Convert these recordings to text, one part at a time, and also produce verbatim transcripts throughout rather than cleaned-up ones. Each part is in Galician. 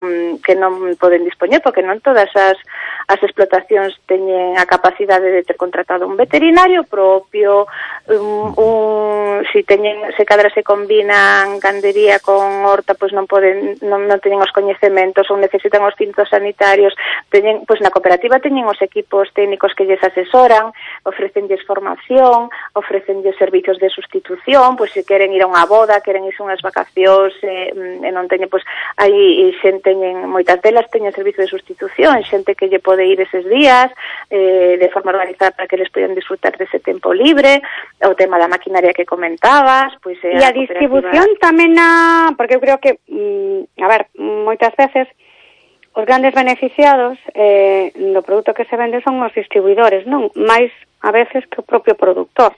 non que non poden dispoñer, porque non todas as as explotacións teñen a capacidade de ter contratado un veterinario propio, un, un si teñen se cadra se combinan gandería con horta, pois non poden non, non teñen os coñecementos ou necesitan os cintos sanitarios, teñen, pois na cooperativa teñen os equipos técnicos que lles asesoran, ofrecenlles formación, ofrecenlles servicios de sustitución, pois se queren ir a unha boda, queren irse unhas vacacións e, e non teñen, pois aí xente teñen, moitas delas teñen servicio de sustitución, xente que lle pode ir eses días eh, de forma organizada para que les podan disfrutar dese tempo libre, o tema da maquinaria que comentabas, pois eh, e a, a distribución tamén a, porque eu creo que mm, a ver, moitas veces os grandes beneficiados eh, do produto que se vende son os distribuidores, non? Mais a veces que o propio productor.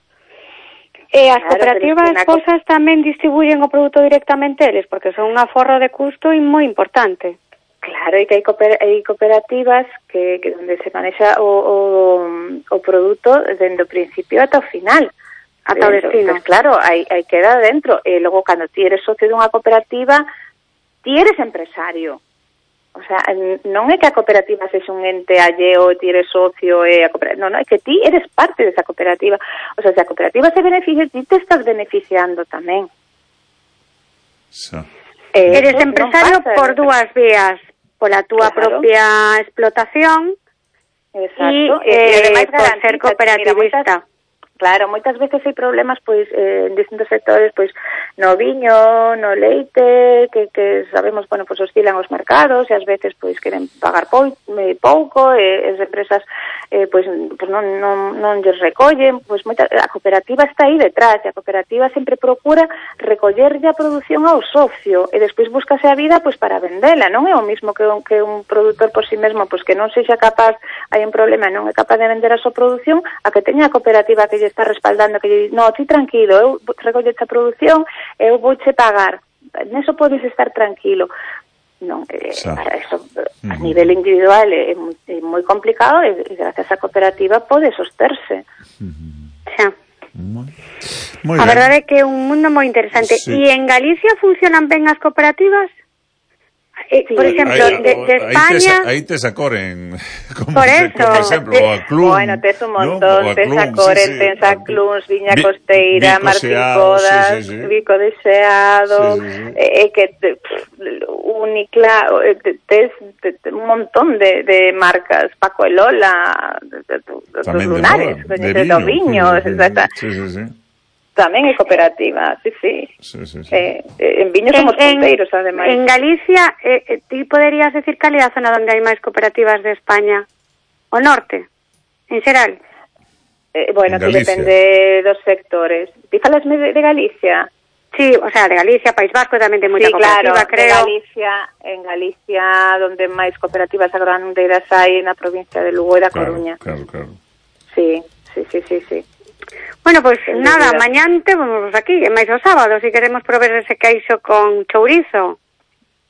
E as claro, cooperativas cosas tamén distribuyen o produto directamente eles, porque son un aforro de custo e moi importante. Claro, e que hai, cooper hai cooperativas que, que donde se manexa o, o, o produto dende o principio ata o final. Ata o destino. Pues claro, hai, hai queda dentro. E logo, cando ti eres socio dunha cooperativa, ti eres empresario. O sea, non é que a cooperativa sexa un ente alleo, ti eres socio, e a cooperativa, non, non, é que ti eres parte desa cooperativa. O sea, se a cooperativa se beneficia, ti te estás beneficiando tamén. Sí. Eh, eres empresario pasa, por dúas vías, pola túa claro. propia explotación. Exacto. E, e ademais por ser cooperativista. Claro, moitas veces hai problemas pois eh, en distintos sectores, pois no viño, no leite, que, que sabemos, bueno, pois oscilan os mercados e ás veces pois queren pagar pou, eh, pouco e as empresas eh, pois, pois non, non, non lles recollen, pois moita, a cooperativa está aí detrás, e a cooperativa sempre procura recollerlle a produción ao socio e despois búscase a vida pois para vendela, non é o mismo que un, que un produtor por si mesmo, pois que non sexa capaz, hai un problema, non é capaz de vender a súa produción, a que teña a cooperativa que lle está respaldando, que lle di, no, ti tranquilo, eu recollo esta produción, eu vouche pagar, neso podes estar tranquilo. Non, eh, para eso, a uh-huh. nivel individual é, é moi complicado e, e gracias á cooperativa pode sosterse. Uh-huh. Xa. Muy, muy a verdade é que é un mundo moi interesante. Sí. E en Galicia funcionan ben as cooperativas? Eh, sí. Por exemplo, ahí, de, de España... Aí te sacoren, como, por eso, por exemplo, de, a Clun. Bueno, tes un montón, ¿no? Tes a Coren, sí, sí. tes a Cluns, Viña Vi, Costeira, Martín Codas, sí, sí, sí. Vico de Xeado, sí, sí, sí. Eh, que te, Unicla, tes un montón de, de marcas, Paco e Lola, dos lunares, de, de, de Doviño, sí, sí, sí, sí. Tamén é cooperativa, sí, sí. sí, sí, sí. Eh, en Viño somos punteiros, ademais. En Galicia, eh, eh, ti poderías decir cal é a zona onde hai máis cooperativas de España? O norte, en xeral? Eh, bueno, que depende dos sectores. Ti falasme de, de Galicia? Sí, o sea, de Galicia, País Vasco tamén ten moita sí, cooperativa, claro, creo. De Galicia, en Galicia, donde máis cooperativas agrandeiras hai na provincia de Lugo e da claro, Coruña. Claro, claro. Sí, sí, sí, sí, sí. Bueno, pois pues, nada, mañán temos aquí, e máis o sábado, se si queremos probar ese queixo con chourizo.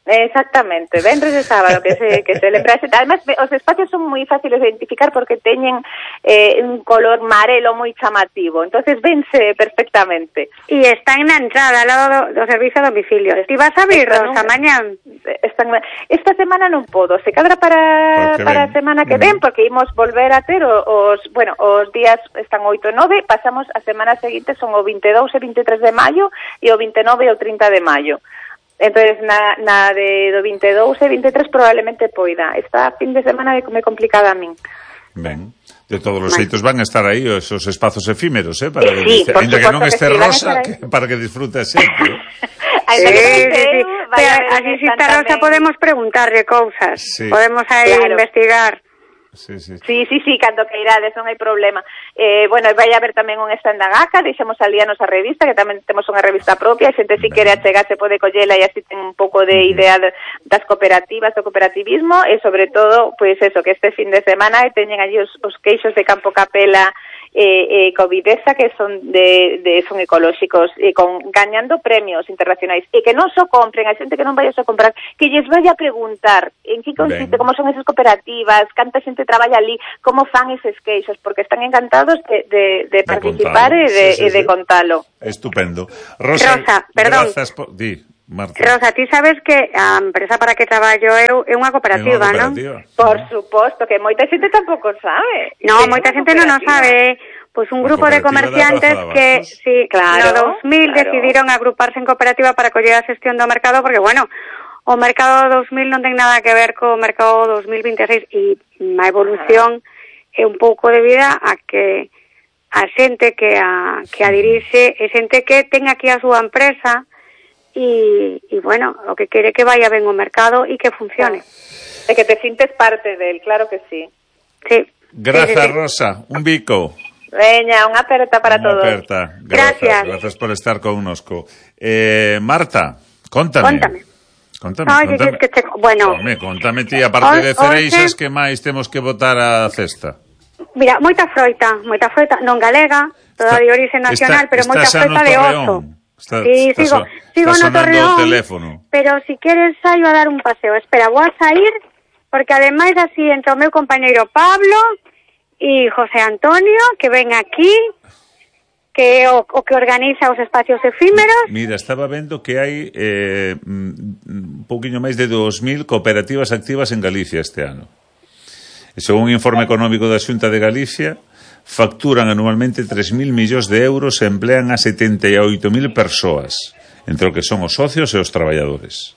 Exactamente, venres de sábado que se que se lembra. Además, os espacios son moi fáciles de identificar porque teñen eh, un color marelo moi chamativo, entonces vense perfectamente. E están na entrada, ao lado do, do servicio a domicilio. Ti vas a abrir, Rosa, mañán? Están, esta semana non podo, se cadra para para a semana que ven, porque imos volver a ter os, bueno, os días están oito e nove, pasamos a semana seguinte, son o vinte e dous e vinte e tres de maio e o vinte e nove e o trinta de maio. Entonces, na, na de do vinte e dous e vinte e tres probablemente poida. Esta fin de semana me complicada a min. Ben, de todos os xeitos van a estar aí esos espazos efímeros, eh, para sí, que, ainda que non este sí, Rosa, que, para que disfrute a xente. Sí, sí, sí. Así si está Rosa podemos preguntarle cousas, sí. Podemos aí claro. investigar. Sí, sí. Sí, sí, sí, cando que irades, non hai problema. Eh, bueno, vai haber tamén un stand da G A C A, deixamos ali a nosa revista, que tamén temos unha revista propia, a xente si quere achegarse pode collela e así ten un pouco de idea de, das cooperativas, do cooperativismo, e sobre todo, pois pues eso, que este fin de semana teñen allí os, os queixos de Campo Capela eh, eh, Covidesa, que son de, de son ecolóxicos, e con gañando premios internacionais, e que non só compren, a xente que non vai a só comprar, que lles vai a preguntar en que consiste, ben. Como son esas cooperativas, canta xente traballa ali, como fan eses queixos, porque están encantados de, de, de, de participar e de, sí, sí, de, sí. de contalo. Estupendo. Rosa, Rosa perdón. Por... Di, Marta. Rosa, ti sabes que a empresa para que traballo eu é unha cooperativa, non? Por suposto, que moita xente tampouco sabe. No, moita xente non o sabe. Pois un grupo de comerciantes que, sí, claro, no dos mil claro. decidiron agruparse en cooperativa para coller a xestión do mercado, porque, bueno, o mercado dos mil non ten nada que ver co mercado dos mil vinte e seis, e a evolución é un pouco debida a que a xente que a, que a dirixe é xente que ten aquí a súa empresa e, e bueno, o que quere que vaya ben o mercado e que funcione. E que te sintes parte del, claro que sí. Sí. Grazas, sí, sí, sí. Rosa. Un bico. Veña, unha aperta para unha todos. Aperta. Grazas, Gracias. Grazas por estar connosco. Eh, Marta, contame. Contame. Contame, Ay, contame. que te... Bueno. Home, contame ti, aparte O, de cereixas, oxe... que máis temos que botar a cesta? Mira, moita froita, moita froita, non galega, toda Está, de orixe nacional, está, pero moita froita de oso. Está, sí, está sigo, so, sigo está no Torreón, teléfono. Pero si queres saio a dar un paseo. Espera, vou a sair, porque ademais así entra o meu compañeiro Pablo e José Antonio, que ven aquí, que é o, o que organiza os espacios efímeros. Mira, estaba vendo que hai eh, un pouquiño máis de dos mil cooperativas activas en Galicia este ano. E según un informe económico da Xunta de Galicia, facturan anualmente tres mil millóns de euros e emplean a setenta e oito mil persoas, entre o que son os socios e os traballadores.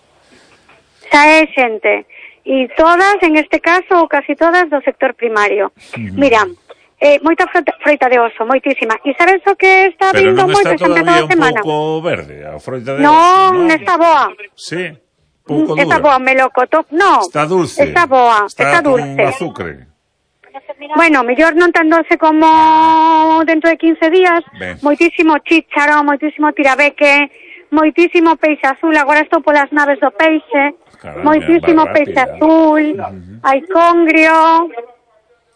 Xa é xente. E todas, en este caso, ou casi todas, do sector primario. Uh-huh. Mira, eh, moita froita, froita de oso, moitísima. E sabes o que está Pero vindo moito esta esta todavía semana? un pouco verde, a froita de no, oso. Non, está boa. Sí, pouco dura. Está boa, melocotón. No, está dulce. Está boa, está, está dulce. Está con azúcar. Bueno, mellor non tan doce como dentro de quince días. Ben. Moitísimo chícharo, moitísimo tirabeque, moitísimo peixe azul. Agora estou polas naves do peixe. Caramba, moitísimo peixe azul. Uh-huh. Hai congrio.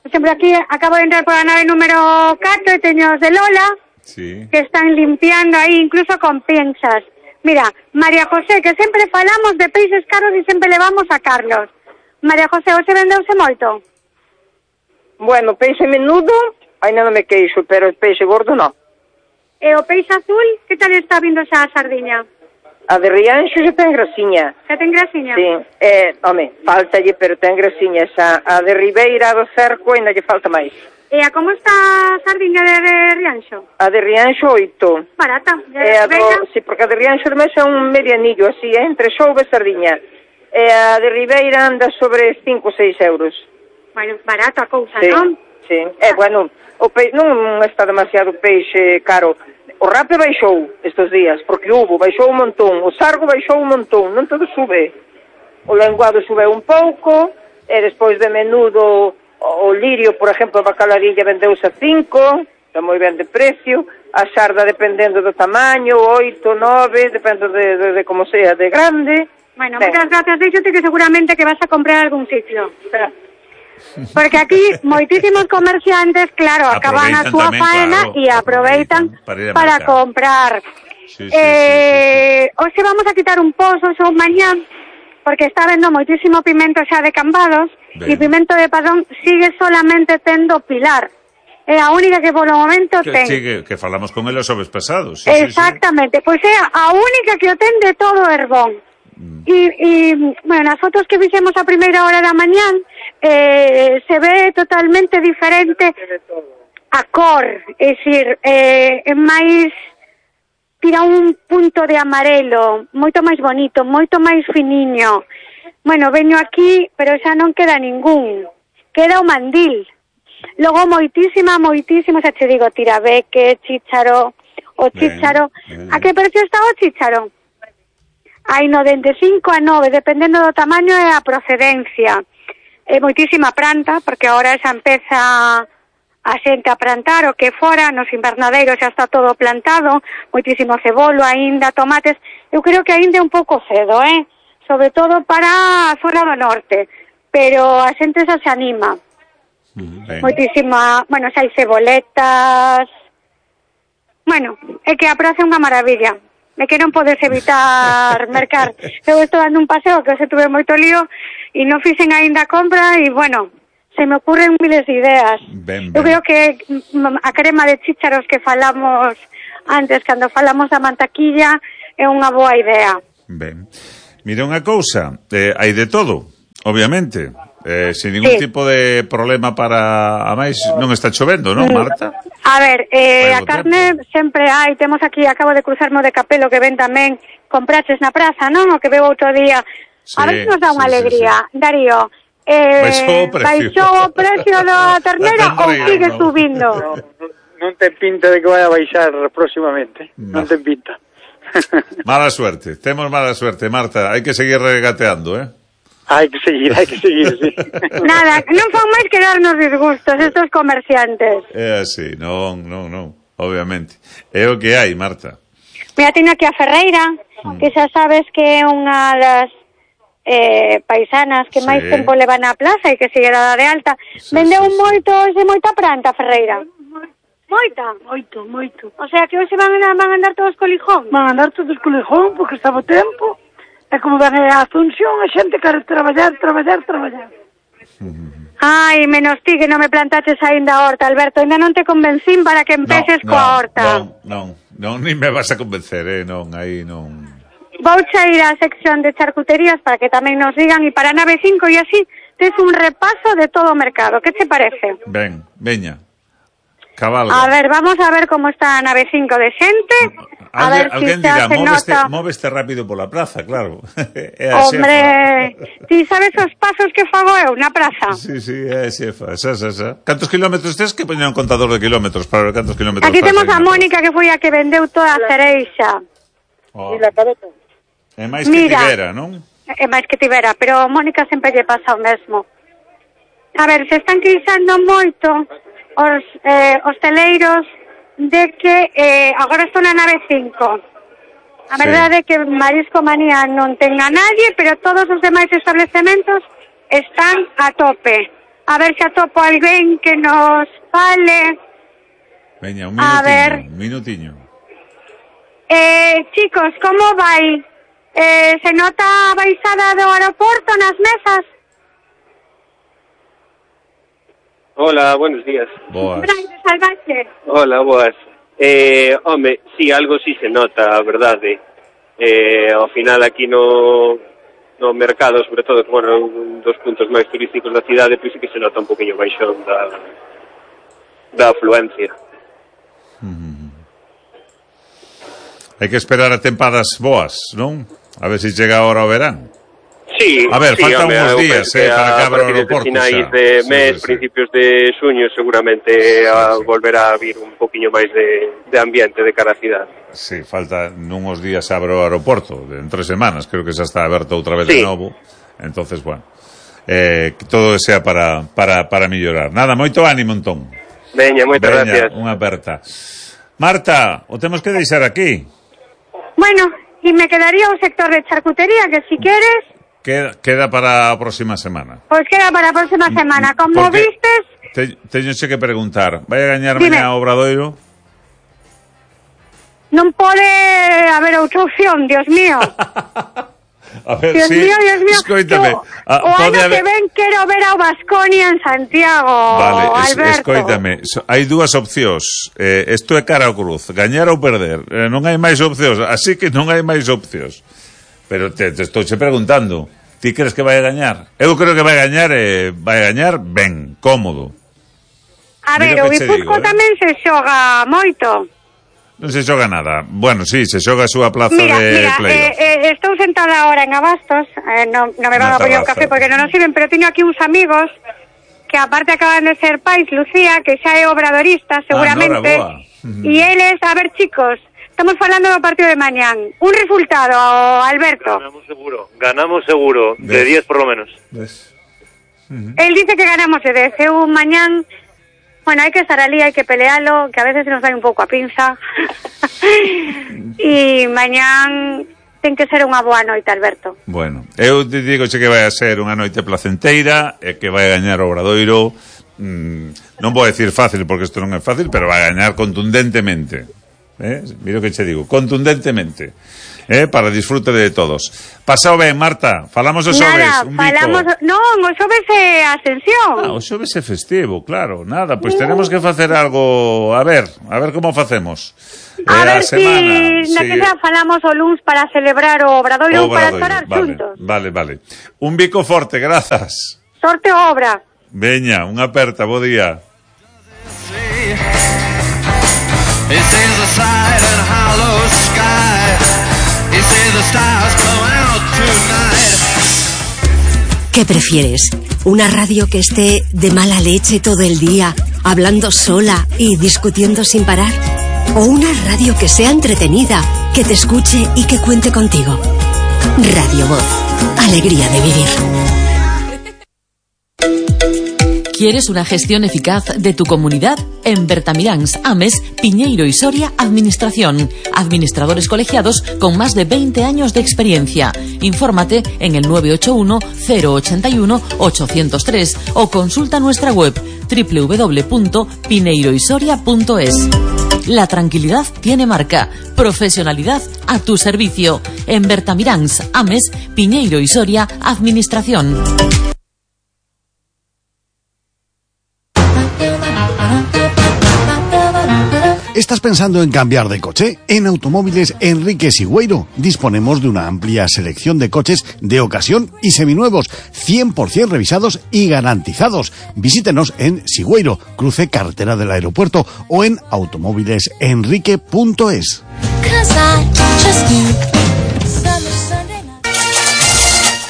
Por exemplo, aquí acabo de entrar por a nave número catro e teño os de Lola, sí, que están limpiando aí, incluso con pinzas. Mira, María José, que sempre falamos de peixes caros e sempre levamos a Carlos. María José, hoxe vendeuse moito? Bueno, peixe menudo, ainda non me queixo, pero peixe gordo non. E o peixe azul, que tal está vindo xa a sardiña? A de Rianxo xa ten grasiña. Xa ten grasiña? Sí, eh, home, faltalle, pero ten grasiña xa. A de Ribeira do Cerco ainda lle falta máis. E a como está a sardiña de, de Rianxo? A de Rianxo, oito. Barata. E a do, sí, porque a de Rianxo ademais é un medianillo así, eh, entre xouve e sardiña. E a de Ribeira anda sobre cinco ou seis euros. Bueno, barato a cousa, sí, non? Sí, é, eh, bueno, o pe... non está demasiado peixe caro. O rape baixou estes días, porque hubo, baixou un montón. O sargo baixou un montón, non todo sube. O lenguado sube un pouco, e despois de menudo, o lirio, por exemplo, a bacalarilla vendeuse a cinco, está moi ben de precio. A xarda, dependendo do tamaño, oito, nove, depende de, de, de como sea, de grande. Bueno, moitas gracias, díxote que seguramente que vas a comprar algún sitio. Porque aquí moitísimos comerciantes, claro, acaban a súa faena e aproveitan para, para comprar. Sí, sí, eh, sí, sí, sí. Hoxe vamos a quitar un pozo, xa mañán, porque está vendo moitísimo pimento xa de Cambados, e pimento de Padrón sigue solamente tendo Pilar. É a única que polo momento que, ten. Sí, que, que falamos con ele os xoves pasados. Sí, exactamente, sí, sí. Pois é a única que o ten de todo Herbón. E, e, bueno, nas fotos que fixemos a primeira hora da mañán eh, se ve totalmente diferente a cor, é dicir, eh, é máis, tira un punto de amarelo, moito máis bonito, moito máis finiño. Bueno, veño aquí, pero xa non queda ningún, queda o mandil. Logo moitísima, moitísima, xa che digo, tirabeque, chícharo, o chícharo. Ben, ben. A que precio está o chícharo? Hai no dende cinco a nove, dependendo do tamaño e a procedencia. É moitísima planta, porque agora xa empeza a xente a plantar, o que fora, nos invernadeiros xa está todo plantado, moitísimo cebolo aínda, tomates. Eu creo que aínda é un pouco cedo, eh? Sobre todo para a zona do norte, pero a xente xa se anima. Mm, moitísima, bueno, xa hai ceboletas. Bueno, é que a praza é unha maravilla. É que non podes evitar mercar. Eu estou dando un paseo que hoxe tuve moito lío e non fixen aínda compra e, bueno, se me ocurren miles de ideas. Ben, ben. Eu creo que a crema de chícharos que falamos antes, cando falamos da mantaquilla, é unha boa idea. Ben. Mira unha cousa, eh, hai de todo, obviamente. Eh, sin ningún sí. tipo de problema para... A máis, non está chovendo, non, Marta? A ver, eh, a carne tempo. Sempre hai. Temos aquí, acabo de cruzarmo de Capelo, que ven tamén compraches na praza, non? O que veo outro día. Sí, a ver se nos dá unha sí, alegría. Sí, sí. Darío, eh, baixou o precio, baixou o precio da ternera ou sigue no. subindo? No, non ten pinta de que vai a baixar próximamente. No. Non ten pinta. Mala suerte, temos mala suerte, Marta. Hai que seguir regateando, eh? Hai que seguir, hai que seguir, sí. Nada, non fan máis que darnos disgustos estos comerciantes. É así, non, non, non, obviamente. É o que hai, Marta. Mira, teño aquí a Ferreira, mm. que xa sabes que é unha das eh, paisanas que sí. máis tempo leva na plaza e que sigue dada de alta. Sí, Vendeu sí, moito, sí. de moita pranta, Ferreira. Moita? Moito, moito. O sea, que hoxe van a, van a andar todos co lijón? Van a andar todos co lijón, porque estaba tempo. E como ven a Asunción, a xente quere traballar, traballar, traballar. Ai, menos ti que non me plantaches aínda a horta, Alberto. Ainda non te convencín para que empeces no, no, coa horta. Non, non, non, ni me vas a convencer, eh, non, aí non. Vou xa ir á sección de charcuterías para que tamén nos digan, e para nave cinco e así tes un repaso de todo o mercado. Que te parece? Ben, veña. Cabalga. A ver, vamos a ver como está a nave cinco de xente. A Algue, ver alguén si dirá, móveste, nota... móveste rápido pola praza, claro. É a Hombre, ti sabes os pasos que fago eu na praza? Sí, sí, é a xefa, xa, xa, xa. Cantos kilómetros tes que poñer un contador de kilómetros para ver cantos kilómetros? Aquí temos a Mónica, que foi a que vendeu toda a cereixa. Oh. E la cabeza. É máis que Mira, tivera, non? É máis que tivera, pero Mónica sempre lle pasa o mesmo. A ver, se están queixando moito os eh, hosteleiros de que eh, agora estou na nave cinco. A sí. verdade é que Marisco Manía non ten a nadie, pero todos os demais establecementos están a tope. A ver se atopo alguén que nos fale. Veña, un minutiño, a ver. un minutiño. Eh, chicos, como vai? Eh, se nota a baixada do aeroporto nas mesas? Hola, buenos días. Boas. Hola, boas. Eh, home, sí, algo sí se nota, a verdade. Eh, ao final aquí no, no mercado, sobre todo, que, bueno, un dos puntos máis turísticos da cidade, pois sí que se nota un poquinho baixón da, da afluencia. Mm-hmm. Hai que esperar a tempadas boas, non? A ver se chega ahora o verán. Sí, a ver, sí, faltan home, uns días eh, para que abra o aeroporto. A partir de finais de mes, sí, sí, principios de xuño, seguramente sí, a, sí. volverá a vir un poquinho máis de, de ambiente de cara a cidade. Sí, falta nuns días abre o aeroporto, en tres semanas, creo que xa está aberto outra vez sí. de novo. Entonces, bueno, eh, que todo sea para, para, para mellorar. Nada, moito ánimo, entón. Veña, moitas Veña, gracias. Unha aperta. Marta, o temos que deixar aquí. Bueno, e me quedaría o sector de charcutería, que si queres... Queda, queda para a próxima semana. Pois pues queda para a próxima semana. Como porque vistes... Te, teñoche que preguntar, vai a gañar mañá o Obradoiro? Non pode haber outra opción, Dios mío. A ver, Dios sí, mío, Dios mío. Escoítame. O, ah, o ano haber... que ven quero ver ao Baskonia en Santiago, vale, es, Alberto. Escoítame, so, hai dúas opcións. Eh, isto é cara ao cruz, gañar ou perder. Eh, non hai máis opcións, así que non hai máis opcións. Pero te, te estou che preguntando, ti crees que vai a gañar? Eu creo que vai a gañar e eh, vai a gañar ben, cómodo. A ver, o Guipúzcoa eh? tamén se xoga moito. Non se xoga nada. Bueno, sí, se xoga a súa plaza mira, de mira, playoff. Eh, eh, estou sentada ahora en Abastos, eh, non, non me van a poñer un café porque non nos sirven, pero teño aquí uns amigos que aparte acaban de ser pais, Lucía, que xa é obradorista, seguramente. Ah, e eles, a ver, chicos, estamos falando do partido de mañán. Un resultado, Alberto. Ganamos seguro, ganamos seguro, de diez por lo menos. ¿Ves? Uh-huh. Él dice que ganamos de diez. Eu mañán, bueno, hai que estar ali, hai que pelealo, que a veces nos dai un pouco a pinza. E mañán ten que ser unha boa noite, Alberto. Bueno, eu te digo que vai a ser unha noite placenteira e que vai a gañar o Obradoiro. Mm, non vou decir fácil porque isto non é fácil, pero vai a gañar contundentemente. Eh? Mira o que che digo, contundentemente. eh, para disfrute de todos. Pasao ben, Marta, falamos o xoves. Nada, un falamos, bico. non, o xoves é Ascensión. Ah, o xoves é festivo, claro, nada, pois pues tenemos que facer algo, a ver, a ver como facemos. A eh, ver a semana, si na sí. que xa falamos o luns para celebrar o Obradoiro ou para chorar vale, xuntos. Vale, vale. Un bico forte, grazas. Sorte obra. Veña, unha aperta, bo día. ¿Qué prefieres? ¿Una radio que esté de mala leche todo el día, hablando sola y discutiendo sin parar? ¿O una radio que sea entretenida, que te escuche y que cuente contigo? Radio Voz. Alegría de vivir. ¿Quieres una gestión eficaz de tu comunidad? En Bertamiráns, Ames, Piñeiro y Soria, Administración. Administradores colegiados con más de veinte años de experiencia. Infórmate en el nueve ocho uno, cero ocho uno, ocho cero tres o consulta nuestra web doble u doble u doble u punto pineiro y soria punto es. La tranquilidad tiene marca. Profesionalidad a tu servicio. En Bertamiráns, Ames, Piñeiro y Soria, Administración. ¿Estás pensando en cambiar de coche? En Automóviles Enrique Sigüeiro disponemos de una amplia selección de coches de ocasión y seminuevos, cien por ciento revisados y garantizados. Visítenos en Sigüeiro, cruce carretera del aeropuerto, o en automóviles enrique punto es.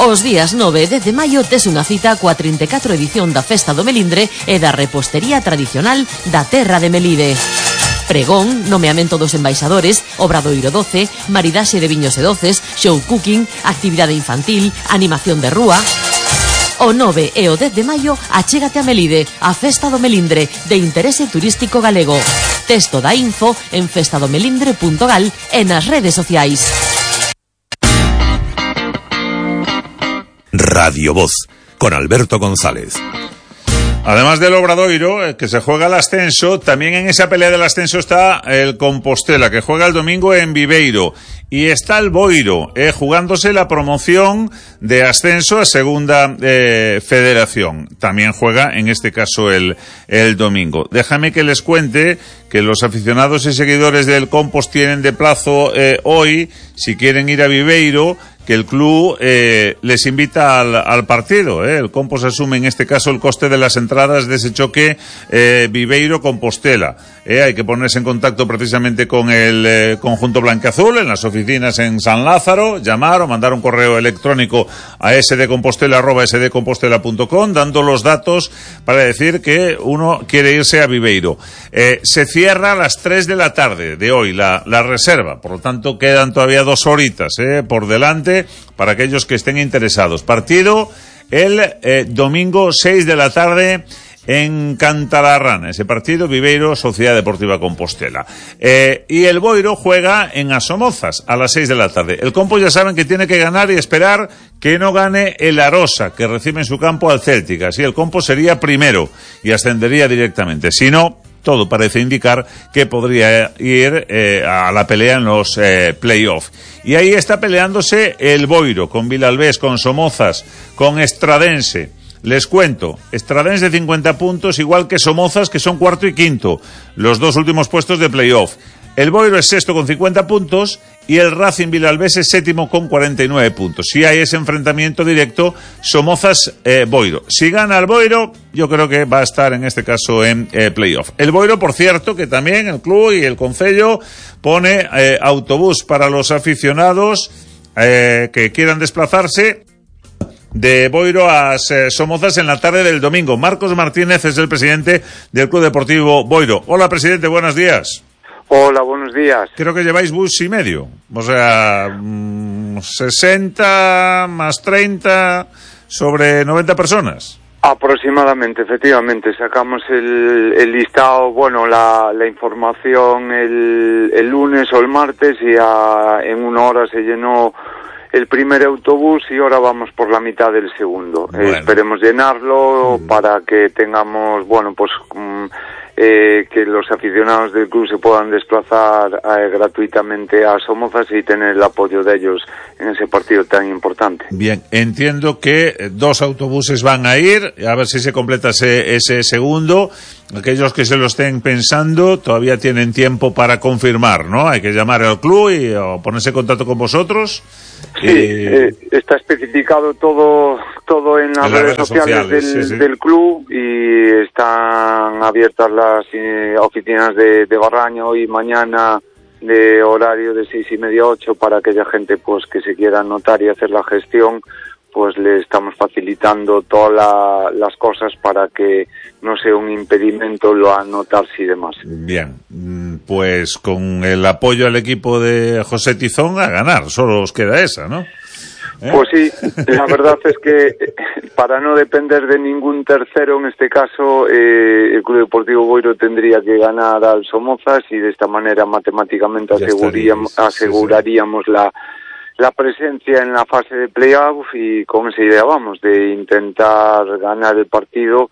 Os días nove e dez de maio tes unha cita coa trinta e catro edición da Festa do Melindre e da repostería tradicional da terra de Melide. Pregón, nomeamento dos embaixadores, Obradoiro doce, maridaxe de viños e doces, show cooking, actividade infantil, animación de rúa. O nove e o dez de maio achégate a Melide, a Festa do Melindre, de interese turístico galego. Texto da info en festadomelindre punto gal e nas redes sociais. Radio Voz, con Alberto González. Además del Obradoiro, que se juega el ascenso, también en esa pelea del ascenso está el Compostela, que juega el domingo en Viveiro. Y está el Boiro, eh, jugándose la promoción de ascenso a Segunda eh, Federación. También juega, en este caso, el, el domingo. Déjame que les cuente que los aficionados y seguidores del Compost tienen de plazo eh, hoy, si quieren ir a Viveiro, que el club eh, les invita al, al partido. Eh. El Compost asume en este caso el coste de las entradas de ese choque eh, Viveiro-Compostela. Eh, hay que ponerse en contacto precisamente con el eh, conjunto blanqueazul en las oficinas en San Lázaro, llamar o mandar un correo electrónico a sdcompostela arroba sdcompostela punto com dando los datos para decir que uno quiere irse a Viveiro. Eh, se cierra a las tres de la tarde de hoy la, la reserva, por lo tanto quedan todavía dos horitas eh, por delante para aquellos que estén interesados. Partido el eh, domingo seis de la tarde en Cantalarrana, ese partido Viveiro Sociedad Deportiva Compostela. Eh, y el Boiro juega en Asomozas a las seis de la tarde. El Compo ya saben que tiene que ganar y esperar que no gane el Arosa, que recibe en su campo al Celtic. Así el Compo sería primero y ascendería directamente. Si no, todo parece indicar que podría ir eh, a la pelea en los eh, play-off. Y ahí está peleándose el Boiro, con Vilalbés, con Somozas, con Estradense. Les cuento, Estradense cincuenta puntos, igual que Somozas, que son cuarto y quinto, los dos últimos puestos de play-off. El Boiro es sexto con cincuenta puntos y el Racing Vilalbés es séptimo con cuarenta y nueve puntos. Si hay ese enfrentamiento directo, Somozas-Boiro. Eh, si gana el Boiro, yo creo que va a estar en este caso en eh, playoff. El Boiro, por cierto, que también el club y el concello pone eh, autobús para los aficionados eh, que quieran desplazarse de Boiro a eh, Somozas en la tarde del domingo. Marcos Martínez es el presidente del Club Deportivo Boiro. Hola, presidente, buenos días. Hola, buenos días. Creo que lleváis bus y medio. O sea, mmm, sesenta más treinta sobre noventa personas. Aproximadamente, efectivamente. Sacamos el, el listado, bueno, la, la información el, el lunes o el martes y a, en una hora se llenó el primer autobús y ahora vamos por la mitad del segundo. Bueno. Eh, esperemos llenarlo mm. para que tengamos, bueno, pues... Um, eh, que los aficionados del club se puedan desplazar eh, gratuitamente a Somozas y tener el apoyo de ellos en ese partido tan importante. Bien, entiendo que dos autobuses van a ir, a ver si se completa ese, ese segundo. Aquellos que se lo estén pensando todavía tienen tiempo para confirmar, ¿no? Hay que llamar al club y o ponerse en contacto con vosotros. Sí, eh, está especificado todo todo en las, en las redes, redes sociales, sociales del, sí, sí. del club, y están abiertas las eh, oficinas de, de Barraña hoy y mañana de horario de seis y media a ocho para aquella gente pues que se quiera anotar y hacer la gestión. Pues le estamos facilitando todas la, las cosas para que no sea un impedimento lo anotarse y demás. Bien, pues con el apoyo al equipo de José Tizón a ganar, solo os queda esa, ¿no? ¿Eh? Pues sí, la verdad es que para no depender de ningún tercero, en este caso, eh, el Club Deportivo Boiro tendría que ganar al Somozas y de esta manera matemáticamente aseguraríamos, aseguraríamos sí, sí. la... la presencia en la fase de playoff, y con esa idea vamos, de intentar ganar el partido,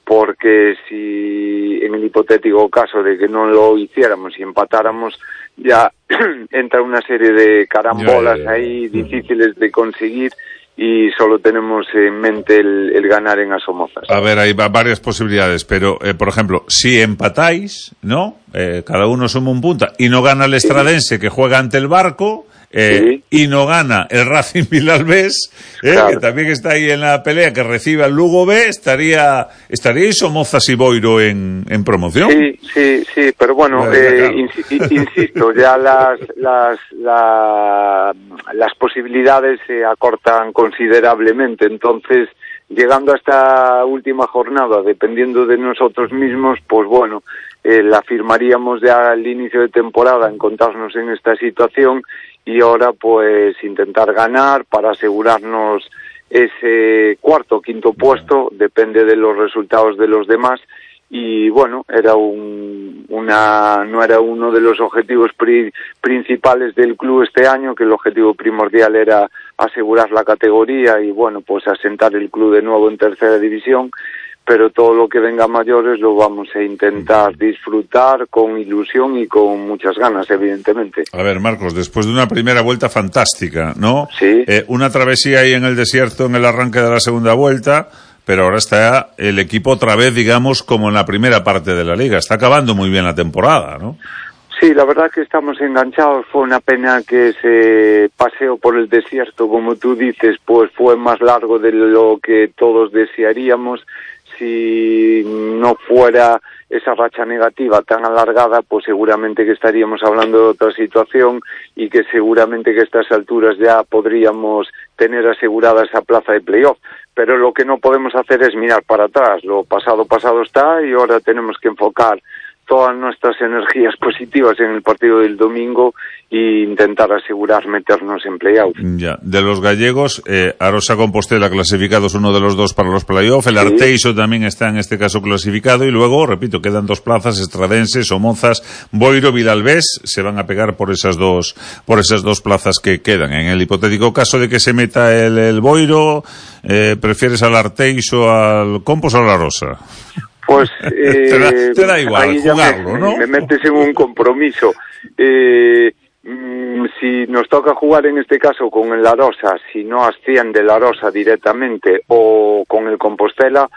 porque si en el hipotético caso de que no lo hiciéramos y empatáramos, ya entra una serie de carambolas ya, ya, ya. ahí difíciles de conseguir, y solo tenemos en mente el, el ganar en Somozas. A ver, hay varias posibilidades, pero, eh, por ejemplo, si empatáis, ¿no? Eh, cada uno suma un punto, y no gana el Estradense, sí. que juega ante el Barco, Eh, sí. y no gana el Racing Vilalbés, eh, claro. que también está ahí en la pelea, que recibe al Lugo B, estaría estaríais Somozas y Boiro en, en promoción. Sí, sí, sí, pero bueno, eh, ins- insisto, ya las las la, las posibilidades se acortan considerablemente, entonces llegando a esta última jornada, dependiendo de nosotros mismos, pues bueno, eh, la firmaríamos ya al inicio de temporada, encontrarnos en esta situación, y ahora pues intentar ganar para asegurarnos ese cuarto o quinto puesto, depende de los resultados de los demás, y bueno, era un, una no era uno de los objetivos pri, principales del club este año, que el objetivo primordial era asegurar la categoría y bueno, pues asentar el club de nuevo en tercera división, pero todo lo que venga a mayores lo vamos a intentar disfrutar con ilusión y con muchas ganas, evidentemente. A ver, Marcos, después de una primera vuelta fantástica, ¿no? Sí. Eh, una travesía ahí en el desierto en el arranque de la segunda vuelta, pero ahora está el equipo otra vez, digamos, como en la primera parte de la liga. Está acabando muy bien la temporada, ¿no? Sí, la verdad que estamos enganchados. Fue una pena que ese paseo por el desierto, como tú dices, pues fue más largo de lo que todos desearíamos. Si no fuera esa racha negativa tan alargada, pues seguramente que estaríamos hablando de otra situación, y que seguramente que a estas alturas ya podríamos tener asegurada esa plaza de playoff. Pero lo que no podemos hacer es mirar para atrás. Lo pasado, pasado está, y ahora tenemos que enfocar todas nuestras energías positivas en el partido del domingo e intentar asegurar meternos en playoff. Ya, de los gallegos, eh, Arosa Compostela clasificado es uno de los dos para los playoff, el sí. Arteixo también está en este caso clasificado, y luego, repito, quedan dos plazas, Estradense, Somozas, Boiro, Vilalbés, se van a pegar por esas dos por esas dos plazas que quedan. En el hipotético caso de que se meta el, el Boiro, eh, ¿prefieres al Arteixo, al Compos o a la Arosa? Pues eh, te, da, te da igual jugarlo, me, ¿no? Me metes en un compromiso. Eh, mm, si nos toca jugar en este caso con el Arosa, si no asciende el Arosa directamente, o con el Compostela,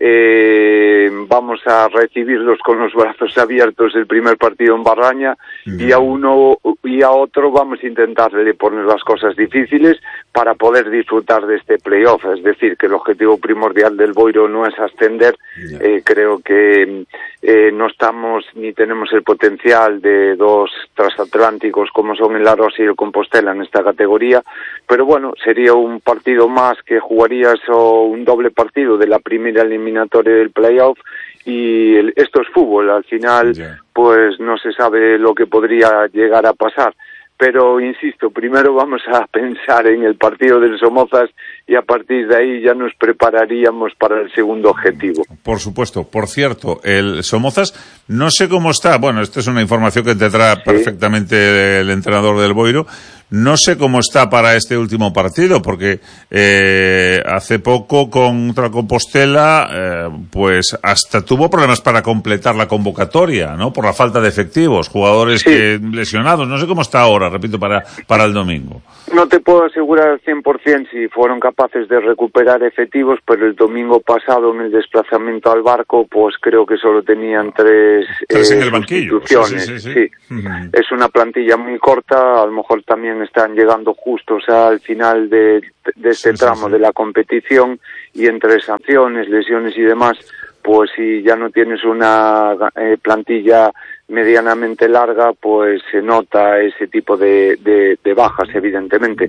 eh, vamos a recibirlos con los brazos abiertos el primer partido en Barraña, mm. y a uno y a otro vamos a intentarle poner las cosas difíciles para poder disfrutar de este playoff. Es decir, que el objetivo primordial del Boiro no es ascender. Yeah. Eh, creo que eh, no estamos ni tenemos el potencial de dos transatlánticos como son el Arosa y el Compostela en esta categoría, pero bueno, sería un partido más que jugarías, o un doble partido de la primera eliminatoria del playoff, y el, esto es fútbol. Al final, yeah. pues no se sabe lo que podría llegar a pasar. Pero, insisto, primero vamos a pensar en el partido del Somozas, y a partir de ahí ya nos prepararíamos para el segundo objetivo. Por supuesto. Por cierto, el Somozas, no sé cómo está, bueno, esta es una información que tendrá sí. perfectamente el entrenador del Boiro, No sé cómo está para este último partido, porque eh, hace poco contra Compostela, eh, pues hasta tuvo problemas para completar la convocatoria, ¿no? Por la falta de efectivos, jugadores sí. que, lesionados. No sé cómo está ahora, repito, para, para el domingo. No te puedo asegurar al cien por cien si fueron capaces de recuperar efectivos, pero el domingo pasado en el desplazamiento al Barco, pues creo que solo tenían tres, tres eh, en el banquillo. sustituciones. Sí, sí, sí, sí. sí. Uh-huh. Es una plantilla muy corta, a lo mejor también están llegando justos al final de, de este sí, tramo sí, sí. de la competición, y entre sanciones, lesiones y demás, pues si ya no tienes una eh, plantilla medianamente larga, pues se nota ese tipo de, de, de bajas, evidentemente.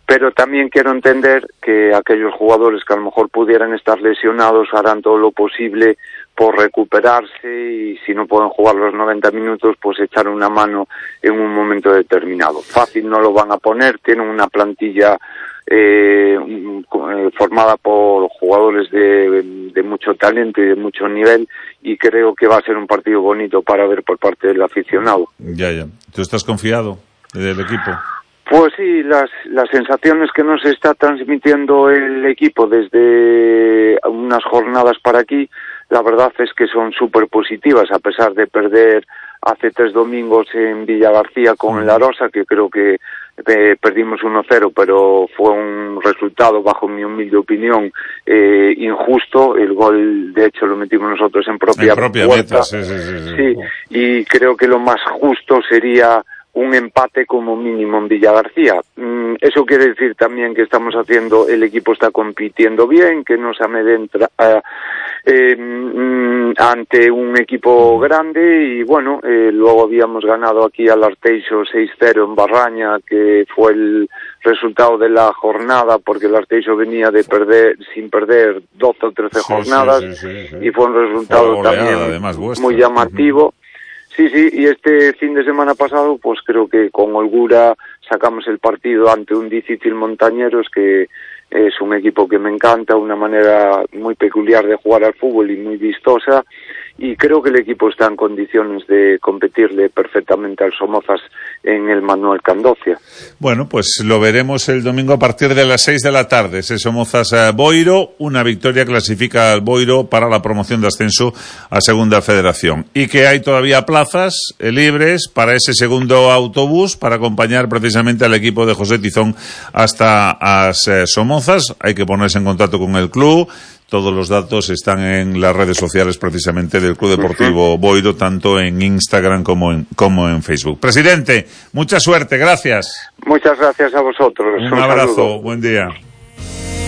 Pero también quiero entender que aquellos jugadores que a lo mejor pudieran estar lesionados harán todo lo posible por recuperarse, y si no pueden jugar los noventa minutos, pues echar una mano en un momento determinado. Fácil no lo van a poner, tienen una plantilla eh, formada por jugadores de, de mucho talento y de mucho nivel, y creo que va a ser un partido bonito para ver por parte del aficionado. Ya, ya. ¿Tú estás confiado del equipo? Pues sí, las, las sensaciones que nos está transmitiendo el equipo desde unas jornadas para aquí, la verdad es que son súper positivas, a pesar de perder hace tres domingos en Villagarcía con el Arosa, que creo que eh, perdimos uno cero, pero fue un resultado, bajo mi humilde opinión, eh, injusto. El gol, de hecho, lo metimos nosotros en propia, en propia puerta. Meta, sí, sí, sí, sí. Sí, y creo que lo más justo sería un empate como mínimo en Villagarcía. Mm, eso quiere decir también que estamos haciendo, el equipo está compitiendo bien, que no se amedrenta uh, eh, mm, ante un equipo grande, y bueno, eh, luego habíamos ganado aquí al Arteixo seis cero en Barraña, que fue el resultado de la jornada, porque el Arteixo venía de perder, sin perder doce o trece sí, jornadas, sí, sí, sí, sí. y fue un resultado fue goleada, también además, muy llamativo. Uh-huh. Sí, sí, y este fin de semana pasado, pues creo que con holgura sacamos el partido ante un difícil Montañeros, que es un equipo que me encanta, una manera muy peculiar de jugar al fútbol y muy vistosa, y creo que el equipo está en condiciones de competirle perfectamente al Somozas en el Manuel Candocia. Bueno, pues lo veremos el domingo a partir de las seis de la tarde. Ese Somozas eh, Boiro, una victoria clasifica al Boiro para la promoción de ascenso a Segunda Federación. Y que hay todavía plazas eh, libres para ese segundo autobús para acompañar precisamente al equipo de José Tizón hasta as eh, Somozas. Hay que ponerse en contacto con el club. Todos los datos están en las redes sociales precisamente del Club Deportivo Boiro, tanto en Instagram como en, como en Facebook. Presidente, mucha suerte, gracias. Muchas gracias a vosotros. Un, Un abrazo, saludo. Buen día.